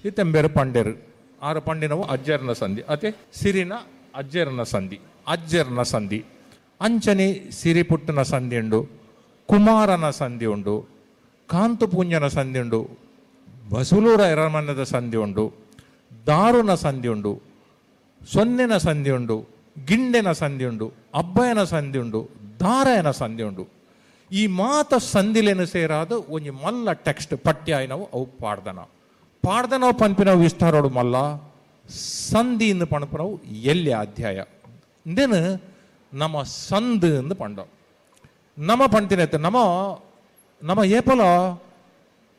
ಇತ್ತೆಂಬೇರು ಪಂಡೇರು ಆರು ಪಂಡಿನವು ಅಜ್ಜರ್ನ ಸಂಧಿ ಅತೆ ಸಿರಿನ ಅಜ್ಜರ್ನ ಸಂಧಿ ಅಜ್ಜರ್ನ ಸಂಧಿ ಅಂಚನೆ ಸಿರಿ ಪುಟ್ಟನ ಸಂಧಿ ಉಂಡು, ಕುಮಾರನ ಸಂಧಿ ಉಂಡು, ಕಾಂತಪೂಂಜನ ಸಂಧಿ ಉಂಡು, ಬಸುಲೂರ ಎರಮನ್ನದ ಸಂಧಿ ಉಂಡು, ದಾರುನ ಸಂಧಿ ಉಂಡು, ಸೊನ್ನೆನ ಸಂಧಿ ಉಂಡು, ಗಿಂಡೆನ ಸಂಧಿ ಉಂಡು, ಅಬ್ಬಯನ ಸಂಧಿ ಉಂಡು, ದಾರಯನ ಸಂಧಿ ಉಂಡು. ಈ ಮಾತ ಸಂಧಿಲೇನು ಸೇರಾದ ಒಂಜಿ ಮಲ್ಲ ಟೆಕ್ಸ್ಟ್ ಪಠ್ಯ ಆಯ್ನವು ಅವು ಪಾಡ್ದನ. ಪಾಡ್ದನವು ಪನ್ಪಿನವು ವಿಸ್ತಾರೋಡು ಮಲ್ಲ ಸಂಧಿ ಇಂದು ಪಣಪನವು ಎಲ್ಲಿ ಅಧ್ಯಾಯ ಇಂದೇನು ನಮ್ಮ ಸಂದು ಎಂದು ಪಂಡ ನಮ್ಮ ಪಂತಿನ ನಮ್ಮ ನಮ್ಮ ಏಪಲ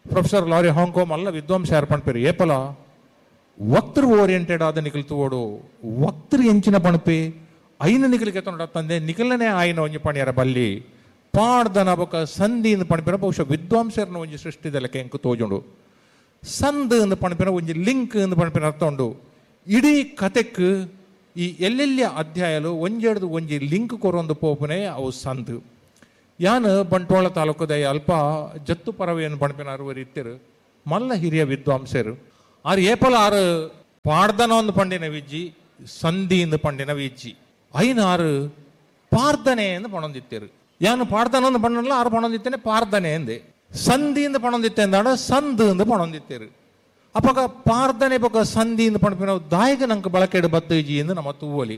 ಪ್ರೊಫೆಸರ್ ಲಾರಿ ಹಾಂಗ್ಕೋ ಮಲ್ಲ ವಿದ್ವಾಂಸ ಯಾರು ಪಣ್ಪೇರು ಏಪಲ ವಕ್ತೃ ಓರಿಯೆಂಟೆಡ್ ಆದ ನಿಖಲ್ ತೋಡು ವಕ್ತೃ ಎಂಚಿನ ಪಣಪಿ ಐನ ನಿಖಲಿಗೆ ತೊಂಡ ತಂದೆ ನಿಖಲನೇ ಆಯ್ನ ಒಂಜಿ ಪಣಿಯರ ಬಲ್ಲಿ ಪಾಡ್ದನ ಬೊಕ ಸಂಧಿ ಎಂದು ಪಣಪಿನ ಬಹುಶಃ ವಿದ್ವಾಂಸರನ್ನ ಒಂಜಿ ಸೃಷ್ಟಿದಲಕ್ಕೆ ಎಂಕು ತೋಜುಂಡು. ಸಂದು ಎಂದು ಪಣಪಿನ ಒಂಜಿ ಲಿಂಕ್ ಎಂದು ಪಣಪಿನ ಅರ್ಥ ಉಂಡು. ಇಡೀ ಕತೆಕ್ ಈ ಎಲ್ಲೆಲ್ಲಿಯ ಅಧ್ಯಾಯಲು ಒಂಜೆಡ್ದು ಒಂಜಿ ಲಿಂಕ್ ಕೊರೊಂದು ಪೋಪುನೆ ಅವು ಸಂದು. ಯಾನ್ ಬಂಟ್ವಾಳ ತಾಲೂಕುದ ಅಲ್ಪ ಜತ್ತು ಪರವೆಯನ್ನು ಪಣಪಿನ ಅರುವರು ಇತ್ತಿರು ಮಲ್ಲ ಹಿರಿಯ ವಿದ್ವಾಂಸರು ಆರು ಏಪಲ ಆರು ಪಾಡ್ದನ ಒಂದು ಪಂಡಿನ ವಿಜ್ಜಿ ಸಂಧಿ ಎಂದು ಪಂಡಿನ ವಿಜ್ಜಿ ಐನ ಆರು ಪಾರ್ದನೆ ಎಂದು ಪಣೊಂದಿತ್ತೇರು. ಯಾನು ಪಾಡ್ದನ ಒಂದು ಪಣ್ಣಲ್ಲ ಆರು ಪಣೊಂದಿತ್ತೇನೆ ಪಾರ್ದನೆ ಎಂದೆ ಸಂಧಿ ಎಂದು ಪಣೊಂದಿತ್ತೆ ಅಂದಾಡ ಸಂದು ಎಂದು ಪಣೊಂದಿತ್ತೇರು. ಅಪಗ ಪಾರ್ದನೆ ಬೊಕ ಸಂಧಿ ಎಂದು ಪಣಪಿನ ದಾಯಕ ನಂಗೆ ಬಳಕೆಡು ಬತ್ತುಜಿ ಎಂದು ನಮ್ಮ ತೂವಲಿ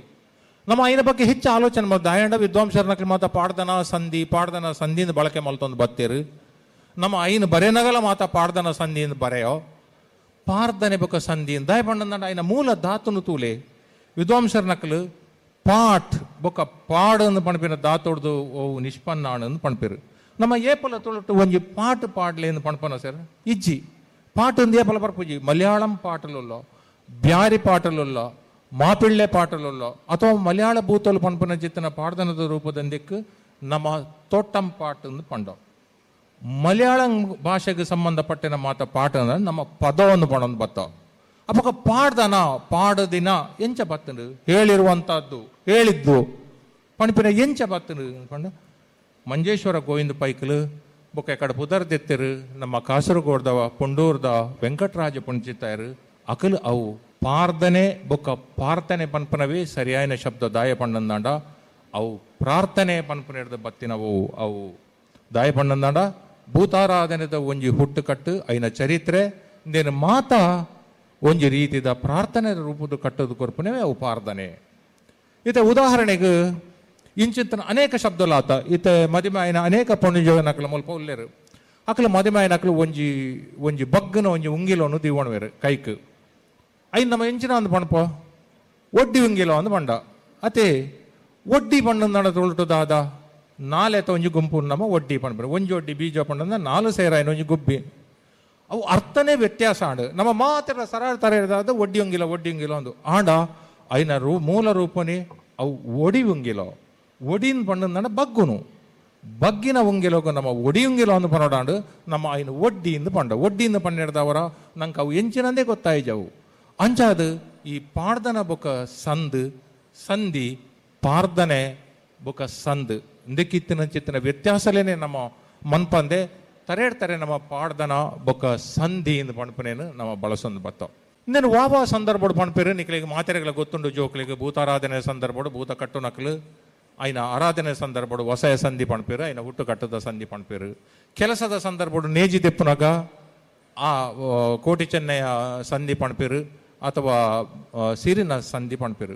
ನಮ್ಮ ಐನ ಬಗ್ಗೆ ಹೆಚ್ಚು ಆಲೋಚನೆ ಮಾಡಿ ದಾಯಂಡ ವಿದ್ವಾಂಸರನಕ್ಕೆ ಮಾತ ಪಾಡ್ದನ ಸಂಧಿ ಪಾಡ್ದನ ಸಂಧಿಯಿಂದ ಬಳಕೆ ಮಲ್ತೊಂದು ಬತ್ತೇರು. ನಮ್ಮ ಐನ ಬರೆನಗಲ ಮಾತ ಪಾಡ್ದನ ಸಂಧಿಯಿಂದ ಬರೆಯೋ ಪಾರ್ದನೆ ಬೊಕ ಸಂಧಿ ದಾಯ ಪಂಡ ಐನ ಮೂಲ ಧಾತುನು ತೂಲೆ ವಿದ್ವಾಂಸರ ನಕಲು ಪಾಟ್ ಬೊಕ ಪಾಡನ್ನು ಪಣಪಿನ ಧಾತುಡ್ದು ಓ ನಿಷ್ಪನ್ನ ಅನ್ನು ಪಣಪಿರು. ನಮ್ಮ ಏಪಲ ತುಳುಟು ಒಂಜಿ ಪಾಟ್ ಪಾಡ್ಲೆ ಎಂದು ಪಣಪನ ಸರ್ ಇಜ್ಜಿ ಪಾಟ್ ಒಂದು ಏಪಲ ಬರ್ಪುಜಿ ಮಲಯಾಳಂ ಪಾಟಲುಲ್ಲೋ ಬ್ಯಾರಿ ಪಾಟಲುಲ್ಲೋ ಮಾಪಿಳ್ಳೆ ಪಾಟಲುಲ್ಲೋ ಅಥವಾ ಮಲಯಾಳ ಭೂತಲು ಪಣಪನ ಚಿತ್ತನ ಪಾಡ್ದನದ ರೂಪದಂದಿಕ್ಕು ನಮ್ಮ ತೋಟಂ ಪಾಟ್ ಎಂದು ಪಂಡೋ. ಮಲಯಾಳಂ ಭಾಷೆಗೆ ಸಂಬಂಧಪಟ್ಟಿನ ಮಾತ ಪಾಠ ಅಂದ್ರೆ ನಮ್ಮ ಪದವನ್ನು ಪಣೊಂದು ಬತ್ತ. ಅಪಕ ಪಾಡ್ದನ ಪಾಡದಿನ ಎಂಚ ಬತ್ತನು ಹೇಳಿರುವಂತಹದ್ದು ಹೇಳಿದ್ದು ಪಣಪಿನ ಎಂಚ ಬತ್ತನು ಪಂಡ ಮಂಜೇಶ್ವರ ಗೋವಿಂದ ಪೈಕಲು ಬೊಕ್ಕ ಕಡೆ ಪುದರ್ದೆತ್ತಿರು ನಮ್ಮ ಕಾಸರಗೋಡ್ದವ ಪುಂಡೂರ್ದ ವೆಂಕಟರಾಜ ಪುಂಚಿತ್ತಾಯರು ಅಕಲು ಅವು ಪಾರ್ದನೆ ಬೊಕ್ಕ ಪಾರ್ತನೆ ಪನ್ಪನವೇ ಸರಿಯಾದ ಶಬ್ದ ದಾಯ ಪಣ್ಣಂದಾಂಡ ಅವು ಪ್ರಾರ್ಥನೆ ಪನ್ಪನ ಹಿಡ್ದು ಬತ್ತಿನವು ಅವು ದಾಯ ಪಣ್ಣಂದಾಂಡ ಭೂತಾರಾಧನೆದ ಒಂಜಿ ಹುಟ್ಟುಕಟ್ಟು ಐನ ಚರಿತ್ರೆ ಇಂದೇನು ಮಾತಾ ಒಂಜಿ ರೀತಿದ ಪ್ರಾರ್ಥನೆ ರೂಪದ ಕಟ್ಟೋದು ಕೊರ್ಪುನವೇ ಅವು ಪಾರ್ದನೆ. ಇತ ಉದಾಹರಣೆಗೆ ಇಂಚಿಂತನ ಅನೇಕ ಶಬ್ದಲಾತ ಇತ ಮದಿಮಾಯನ ಅನೇಕ ಪೊಣ್ಣುಜನಕಲ ಮುಲ್ಪ ಉಲ್ಲೇರು ಅಕಲ ಮದಿಮಾಯನಕಲು ಒಂಜಿ ಒಂಜಿ ಬಗ್ಗನ ಒಂಜಿ ಉಂಗಿಲವನ್ನು ದಿವಣವೇರು ಕೈಕ್ ಐನ್ ನಮ್ಮ ಎಂಚಿನ ಅಂದ್ ಪಣಪ ಒಡ್ಡಿ ಉಂಗಿಲ ಅಂದ್ ಪಂಡ ಅತೆ ಒಡ್ಡಿ ಪಣ್ಣಂದಾಣ ತುಳುಟು ದಾದ ನಾಲೆತ ಒಂಜಿ ಗುಂಪು ನಮ್ಮ ಒಡ್ಡಿ ಪಣ್ಪೇರು ಒಂಜಿ ಒಡ್ಡಿ ಬೀಜ ಪಣ್ಣಂದ ನಾಲು ಸೇರಾಯನ ಒಂಜಿ ಗುಬ್ಬಿ ಅವು ಅರ್ಥನೇ ವ್ಯತ್ಯಾಸ ಆಂಡು ನಮ್ಮ ಮಾತ್ರ ಸರಳ ತರ ಇರೋದಾದ ಒಡ್ಡಿ ಉಂಗಿಲ ಒಡ್ಡಿ ಉಂಗಿಲ ಒಂದು ಆಂಡ ಐನ ರೂ ಮೂಲ ರೂಪನೇ ಅವು ಒಡಿ ಉಂಗಿಲ ಒಡಿನ ಪಣ್ಣಂದಾಣ ಬಗ್ಗುನು ಬಗ್ಗಿನ ಉಂಗಿಲೋಗು ನಮ್ಮ ಒಡಿ ಉಂಗಿಲ ಒಂದು ಪನೋಡಾಂಡು ನಮ್ಮ ಐನ ಒಡ್ಡಿಯಿಂದ ಪಂಡ ಒಡ್ಡಿಯಿಂದ ಪಣ್ಣಿಡ್ದವರ ನಂಗೆ ಅವು ಎಂಚಿನಂದೇ ಗೊತ್ತಾಯ್ಜವು. ಅಂಚಾದು ಈ ಪಾಡ್ದನ ಬೊಕ ಸಂದು ಸಂಧಿ ಪಾರ್ದನೆ ಬೊಕ ಸಂದು ಇಂದಕ್ಕಿತ್ತಿನ ಚಿತ್ತಿನ ವ್ಯತ್ಯಾಸಲೇನೆ ನಮ್ಮ ಮನ್ಪಂದೆ ತರೇಡ್ತಾರೆ ನಮ್ಮ ಪಾಡ್ದನ ಬೊಕ ಸಂಧಿ ಎಂದು ಪಣಪನೇನು ನಮ್ಮ ಬಳಸೊಂದು ಬತ್ತ. ಇನ್ನೇನು ವಾವಾ ಸಂದರ್ಭಡು ಪಣಪೇರು ನಿಕ್ಲಿಗೆ ಮಾತೆರೆಗಳ ಗೊತ್ತುಂಡು ಜೋಕ್ಲಿಗೆ ಭೂತಾರಾಧನೆ ಸಂದರ್ಭಡು ಭೂತ ಕಟ್ಟು ನಕಲು ಐನ ಆರಾಧನೆ ಸಂದರ್ಭಡು ವಸಯ ಸಂಧಿ ಪಣಪೇರು ಐನ ಹುಟ್ಟು ಕಟ್ಟದ ಸಂಧಿ ಪಣಪೇರು. ಕೆಲಸದ ಸಂದರ್ಭಡು ನೇಜಿ ದೆಪ್ಪುನಗ ಆ ಕೋಟಿ ಚೆನ್ನಯ ಸಂಧಿ ಪಣಪೇರು ಅಥವಾ ಸಿರಿನ ಸಂಧಿ ಪಣಪೇರು.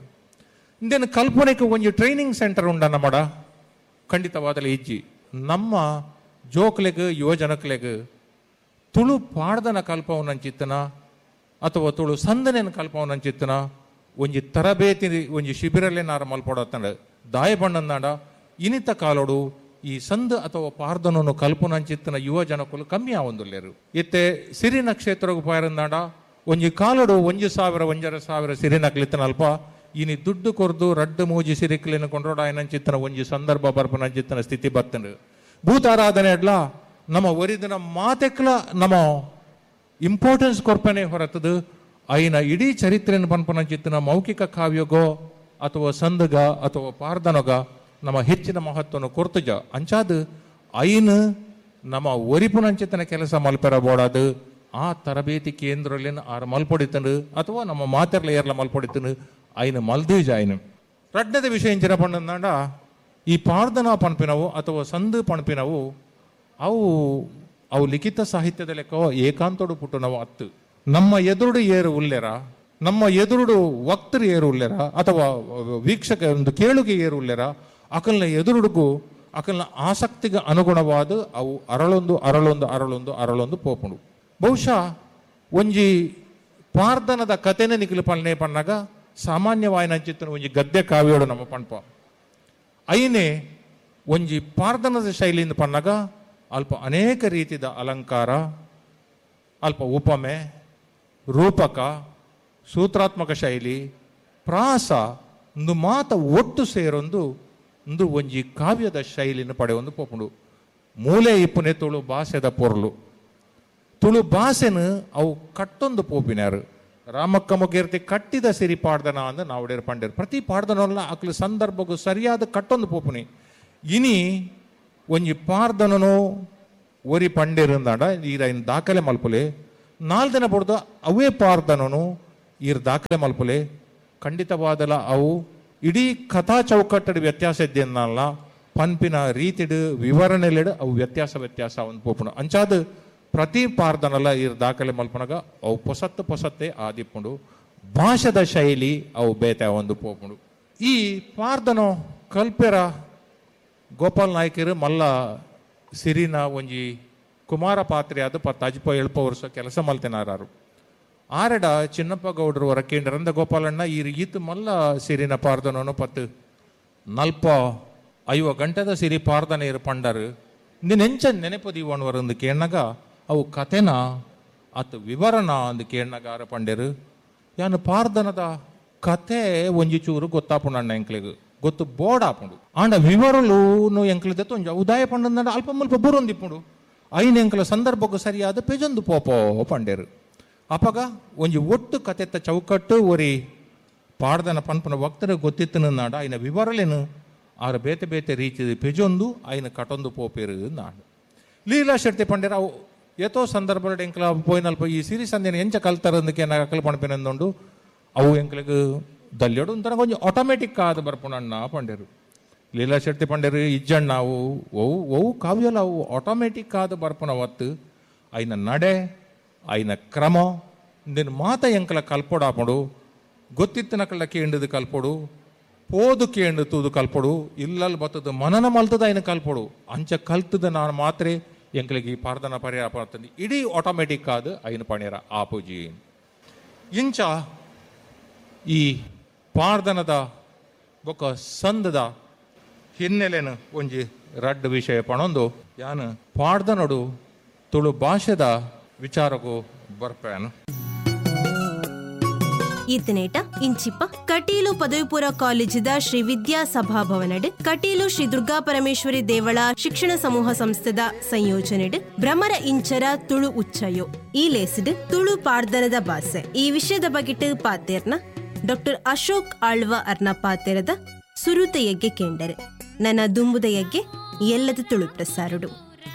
ಇಂದೇನು ಕಲ್ಪನೆಗೆ ಒಂಜಿ ಟ್ರೈನಿಂಗ್ ಸೆಂಟರ್ ಉಂಡ ನಮ್ಮಡ ಖಂಡಿತವಾದಲೇ ಇಜ್ಜಿ. ನಮ್ಮ ಜೋಕ್ಲೆಗ್ ಯುವಜನಕ್ಲೆಗ್ ತುಳು ಪಾಡ್ದನ ಕಲ್ಪವನಂಚಿತ್ತನ ಅಥವಾ ತುಳು ಸಂದನೆಯನ್ನು ಕಲ್ಪವನಂಚಿತ್ತನ ಒಂಜಿ ತರಬೇತಿ ಒಂಜಿ ಶಿಬಿರಲ್ಲೇ ನಾರ ಮಲ್ಪೊಡತ್ತಂಡ ದಾಯ ಬಣ್ಣಂದಾಂಡ ಇನಿತ ಕಾಲೋಡು ಈ ಸಂದ್ ಅಥವಾ ಪಾರ್ದನನ್ನು ಕಲ್ಪನಂಚಿತ್ತನ ಯುವ ಜನಕುಲು ಕಮ್ಮಿ ಆವೊಂದುಲ್ಲೇರು. ಇತ್ತೆ ಸಿರಿನ ಕ್ಷೇತ್ರಗ್ ಪಾಯರಂದಾಂಡ ಒಂಜಿ ಕಾಲೋಡು 1,000 1,500 ಸಿರಿನಕ್ಲಿತ್ತನ ಅಲ್ಪ ಇನಿ ದುಡ್ಡು ಕೊರ್ದು ರಡ್ಡು ಮೂಜಿ ಸಿರಿಕ್ಲಿನ ಕೊಂಡ್ರೋಡ ಆಯನಂಚಿತ್ತನ ಒಂಜಿ ಸಂದರ್ಭ ಬರ್ಪನಂಚಿತ್ತನ ಸ್ಥಿತಿ ಬತ್ತಂಡು. ಭೂತಾರಾಧನೆ ಅಡ್ಲ ನಮ್ಮ ಒರಿದಿನ ಮಾತೆಕ್ಲ ನಮ್ಮ ಇಂಪಾರ್ಟೆನ್ಸ್ ಕೊರ್ಪನೆ ಹೊರತದು ಐನ ಇಡೀ ಚರಿತ್ರೆಯನ್ನು ಪನ್ಪನಂಚಿತ್ತನ ಮೌಖಿಕ ಕಾವ್ಯಗೋ ಅಥವಾ ಸಂದಗ ಅಥವಾ ಪಾರ್ದನಗ ನಮ್ಮ ಹೆಚ್ಚಿನ ಮಹತ್ವವನ್ನು ಕೊರ್ತುಜ. ಅಂಚಾದು ಐನು ನಮ್ಮ ಒರಿಪುನಂಚಿತನ ಕೆಲಸ ಮಲ್ಪೆರ ಬೋಡಾದು ಆ ತರಬೇತಿ ಕೇಂದ್ರಲೇನು ಆರ ಮಲ್ಪೊಡಿತನು ಅಥವಾ ನಮ್ಮ ಮಾತೆರ್ಲ ಏರ್ಲ ಮಲ್ಪೊಡಿತನು ಐನು ಮಲ್ದೀಜ ಐನು. ರಡ್ಡದ ವಿಷಯ ಇಂಚಿನ ಪಂಡಂದಾಂಡ ಈ ಪಾರ್ದನ ಪನ್ಪಿನವು ಅಥವಾ ಸಂದು ಪಣಪಿನವು ಅವು ಅವು ಲಿಖಿತ ಸಾಹಿತ್ಯದ ಲೆಕ್ಕ ಏಕಾಂತೋಡು ಪುಟ್ಟುನವು ಅತ್ತು. ನಮ್ಮ ಎದುರುಡು ಏರು ಉಲ್ಲೆರ, ನಮ್ಮ ಎದುರುಡು ವಕ್ತರು ಏರು ಉಲ್ಲೆರ ಅಥವಾ ವೀಕ್ಷಕ ಒಂದು ಕೇಳುಗೆ ಏರು ಉಲ್ಲೆರ, ಅಕಲ್ನ ಎದುರುಡುಗು ಅಕಲ್ನ ಆಸಕ್ತಿಗೆ ಅನುಗುಣವಾದ ಅವು ಅರಳೊಂದು ಅರಳೊಂದು ಅರಳೊಂದು ಅರಳೊಂದು ಪೋಪುಂಡು. ಬಹುಶಃ ಒಂಜಿ ಪಾರ್ದನದ ಕತೆನೆ ನಿಖಲು ಪಲ್ನೆ ಪನ್ನಾಗ ಸಾಮಾನ್ಯವಾಯಿನಂಚಿತ್ತನ ಒಂಜಿ ಗದ್ಯ ಕಾವ್ಯೋಡು ನಮ್ಮ ಪಣ್ಪ ಐನೇ ಒಂಜಿ ಪಾರ್ದನದ ಶೈಲಿಯಿಂದ ಪನ್ನಾಗ ಅಲ್ಪ ಅನೇಕ ರೀತಿಯ ಅಲಂಕಾರ, ಅಲ್ಪ ಉಪಮೆ, ರೂಪಕ, ಸೂತ್ರಾತ್ಮಕ ಶೈಲಿ, ಪ್ರಾಸ ಒಂದು ಮಾತ ಒಟ್ಟು ಸೇರೊಂದು ಒಂದು ಒಂಜಿ ಕಾವ್ಯದ ಶೈಲಿನ ಪಡೆಯೊಂದು ಪೋಪುಂಡು. ಮೂಲೆ ಇಪ್ಪುನೆ ತುಳು ಭಾಷೆದ ಪೊರ್ಲು, ತುಳು ಭಾಷೆನು ಅವು ಕಟ್ಟೊಂದು ಪೋಪಿನಾರು. ರಾಮಕ್ಕ ಮುಗೇರ್ತಿ ಕಟ್ಟಿದ ಸಿರಿ ಪಾಡ್ದನ ಅಂದ ನಾವುಡೇರು ಪಂಡೇರು ಪ್ರತಿ ಪಾಡ್ದನಲ್ಲ ಅಕ್ಲು ಸಂದರ್ಭಕ್ಕೂ ಸರಿಯಾದ ಕಟ್ಟೊಂದು ಪೋಪುನಿ. ಇನಿ ಒಂಜಿ ಪಾರ್ದನನು ಒರಿ ಪಂಡೇರಂದಾಂಡ ಈರ ಇನ್ ದಾಖಲೆ ಮಲ್ಪುಲೆ, 4 ದಿನ ಪಡ್ದು ಅವೇ ಪಾರ್ದನನು ಈರ್ ದಾಖಲೆ ಮಲ್ಪುಲೆ. ಖಂಡಿತವಾದಲ ಅವು ಇಡೀ ಕಥಾ ಚೌಕಟ್ಟಡು ವ್ಯತ್ಯಾಸ ಇದ್ದೇನಲ್ಲ, ಪನ್ಪಿನ ರೀತಿಡು ವಿವರಣೆಲೆಡು ಅವು ವ್ಯತ್ಯಾಸ ವ್ಯತ್ಯಾಸ ಒಂದು ಪೋಪುಂಡು. ಅಂಚಾದ ಪ್ರತಿ ಪಾರ್ದನಲ್ಲ ಈರ್ ದಾಖಲೆ ಮಲ್ಪನಗ ಅವು ಪೊಸತ್ತು ಪೊಸತ್ತೆ ಆದಿಪ್ಪುಂಡು, ಭಾಷದ ಶೈಲಿ ಅವು ಬೇತೆ ಒಂದು ಪೋಪುಂಡು. ಈ ಪಾರ್ದನೋ ಕಲ್ಪೆರ ಗೋಪಾಲ್ ನಾಯ್ಕರು ಮಲ್ಲ ಸಿರಿನ ಒಂಜಿ ಕುಮಾರ ಪಾತ್ರೆ ಅದು 10 70 ವರ್ಷ ಕೆಲಸ ಮಲ್ತೆನಾರು. ಆರೆಡ ಚಿನ್ನಪ್ಪ ಗೌಡರು ಹೊರಕೇಂದ್ರಂದ ಗೋಪಾಲಣ್ಣ ಈ ಈತು ಮಲ್ಲ ಸಿರಿನ ಪಾರ್ದನೋ 10 40 50 ಗಂಟೆದ ಸಿರಿ ಪಾರ್ದನ ಇರು ಪಂಡರು ನೆಂಚ ನೆನಪು ದೀವಣ್ವರಂದು ಕೇಣ್ಣಗ ಅವು ಕತೆನ ಅತ್ ವಿವರಣ ಅಂದು ಕೇಣ್ಣಗಾರ ಪಂಡರು. ಯಾನು ಪಾರ್ದನದ ಕತೆ ಒಂಜಿ ಚೂರು ಗೊತ್ತಾಪುಂಡಣ್ಣ ಎಂಕ್ಲಿಗ್ ಗೊತ್ತು ಬೋರ್ಡ್ ಆಪುಂಡು. ಆಂಡ ವಿವರಲು ಎಂಕ್ಲಿದ ಒಂಜಿ ಉದಾಯ ಪಂಡಂದ ಅಲ್ಪ ಮುಲ್ಪ ಬೂರೊಂದಿಪ್ಪುಂಡು ಐನ ಎಂಕ್ಲ ಸಂದರ್ಭಕ್ಕೂ ಸರಿಯಾದ ಪೆಜೊಂದು ಪೋಪೋ ಪಂಡೇರು. ಅಪಗ ಒಂಜಿ ಒಟ್ಟು ಕತೆತ್ತ ಚೌಕಟ್ಟು ಒರಿ ಪಾಡ್ದನ ಪನ್ಪನ ವಕ್ತರು ಗೊತ್ತಿತ್ತನಾಡ ಐನ ವಿವರಲೇನು ಆರ ಬೇತೆ ಬೇತೆ ರೀತಿ ಪೆಜೊಂದು ಐನ ಕಟೊಂದು ಪೋಪೇರು ನಾಡು. ಲೀಲಾ ಶೆಟ್ಟಿ ಪಂಡೇರು ಅವು ಏತೋ ಸಂದರ್ಭ ಎಂಕ್ಲ ಪೋಯಿನಲ್ಪ ಈ ಸಿರಿ ಸಂದೇನ ಎಂಚ ಕಲ್ತಾರಂದಕ್ಕೆ ಅಕಲ್ ಪಣಪಿನಂದುಂಡು ಅವು ಎಂಕ್ಲಿಗ್ ದಲ್ಯಡು ಒಂಥರ ಕೊಂಚ ಆಟೋಮೆಟಿಕ್ ಆದ ಬರ್ಪುಣಣ್ಣ ಪಂಡೇರು. ಲೀಲಾ ಶೆಟ್ಟಿ ಪಂಡೇರು ಇಜ್ಜಣ್ಣ ಅವು ಒವು ಒವು ಕಾವ್ಯಲ ಅವು ಆಟೋಮೆಟಿಕ್ ಆದ ಬರ್ಪುಣ ಒತ್ತು ಐನ ನಡೆ ಐನ ಕ್ರಮ ನಿನ್ನ ಮಾತ ಎಂಕಲ ಕಲ್ಪೊಡಾಪುಂಡು, ಗೊತ್ತಿತ್ತನಕಲ್ಲ ಕೇಂಡದು ಕಲ್ಪೊಡು, ಪೋದು ಕೇಂಡು ತೂದು ಕಲ್ಪೊಡು, ಇಲ್ಲಲ್ಲಿ ಬತ್ತದ ಮನನ ಮಲ್ತದ ಐನ ಕಲ್ಪೊಡು. ಅಂಚ ಕಲ್ತದ ನಾನು ಮಾತ್ರೆ ಎಂಕಲಿಗೆ ಈ ಪಾರ್ದನ ಪರಿಹಾರ ಪಡ್ತಂದು ಇಡೀ ಆಟೋಮೆಟಿಕ್ ಆದ ಐನ ಪಣಿರ ಆಪುಜಿ. ಇಂಚ ಈ ಪಾರ್ದನದ ಬೊಕ್ಕ ಸಂದದ ಹಿನ್ನೆಲೆನು ಒಂಜಿ ರಡ್ಡು ವಿಷಯ ಪಣೊಂದು ಯಾನು ಪಾಡ್ದನಡು ತುಳು ಭಾಷೆದ ವಿಚಾರಕ್ಕೂ ಬರ್ಪೇನು. ಈತನೇಟ ಇಂಚಿಪ್ಪ ಕಟೀಲು ಪದವಿಪೂರ್ವ ಕಾಲೇಜಿದ ಶ್ರೀ ವಿದ್ಯಾ ಸಭಾಭವನಡ್ ಕಟೀಲು ಶ್ರೀ ದುರ್ಗಾ ಪರಮೇಶ್ವರಿ ದೇವಳ ಶಿಕ್ಷಣ ಸಮೂಹ ಸಂಸ್ಥೆದ ಸಂಯೋಜನೆಡ್ ಭ್ರಮರ ಇಂಚರ ತುಳು ಉಚ್ಚಯೋ ಈ ಲೇಸಿಡ್ ತುಳು ಪಾಡ್ದನದ ಬಾಸೆ ಈ ವಿಷಯದ ಬಗೆಟ್ ಪಾತೇರ್ನ ಡಾಕ್ಟರ್ ಅಶೋಕ್ ಆಳ್ವ ಅರ್ನ ಪಾತೇರದ ಸುರುತ ಯಗ್ಗೆ ಕೇಂಡರೆ ನನ್ನ ದುಂಬುದ ಯಗ್ಗೆ ಎಲ್ಲದ ತುಳು ಪ್ರಸಾರುಡು.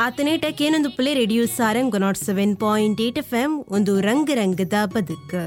ಆತನೇಟ ಕೇನೊಂದು ಪುಲೆ ರೇಡಿಯೋ ಸಾರಂಗ್ 107.8 FM ಒಂದು ರಂಗ ರಂಗದ ಬದುಕು.